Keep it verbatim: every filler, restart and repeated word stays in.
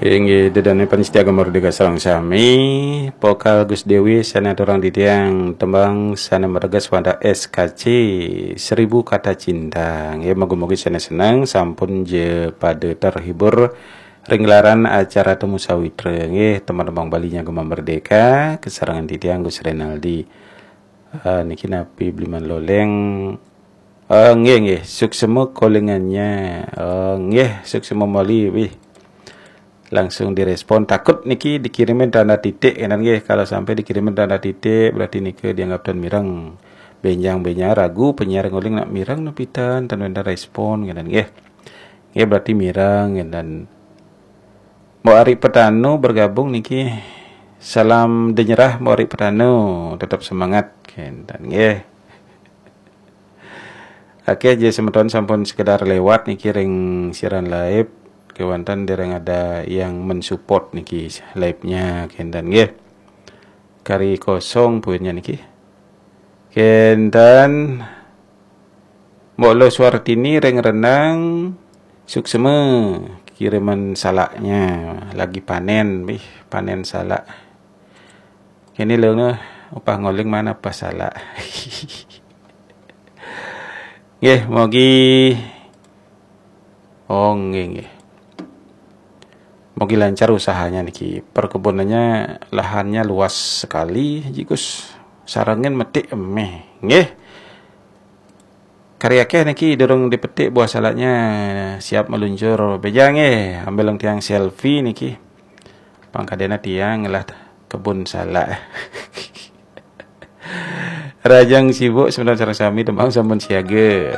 Inggih, dedane panitia Gema Merdeka sareng sami, vokal Gus Dewi sane aturang titiang tembang sane merges wantah S K C, Seribu Kata Cinta. Nggih, mugi-mugi sane seneng, sampun je pada terhibur ring gelaran acara Temu Sawitra. Nggih, teman-teman Bali nya Gema Merdeka, kesarengan titiang Gus Renaldi. Ah, niki napi Bliman Loleng? Ah, nggih, nggih, suksema kolingannya. Ah, nggih, suksema moli, wih. Langsung direspon. Takut niki dikirimin tanda titik, kan nggih. Kalau sampai dikirimin tanda titik, berarti nika dianggap tan mireng. Benjang-benjang ragu penyiar nguling nak mireng napi tan, tan wenten respon, kan nggih. Nggih, berarti mireng, kan. Mbok Ari Petano bergabung niki. Salam denyerah Mbok Ari Petano, tetap semangat, kan nggih. Oke, je semeton sampun sekedar lewat niki ring siaran live, kewanten dereng ada yang mensupport niki live-nya, kenten nggih. Kari kosong poinnya niki. Kenten. Mbok Lo Suartini ring Renang, suksema kiriman salaknya, lagi panen, bih, panen salak. Kene lo, upah ngoling mana pas salak. Nggih, mogi, oh, nggih, nggih. Mogi lancar usahanya niki. Perkebunannya, lahannya luas sekali, jikus. Sarengin metik emeh. Nggih. Kari akeh niki durung dipetik buah salaknya, siap meluncur. Beja nggih, ambil tiang selfie niki. Pangkadena tiang ngelah kebun salak. Rahajeng sibuk semeton sareng sami, tembang sampun siaga.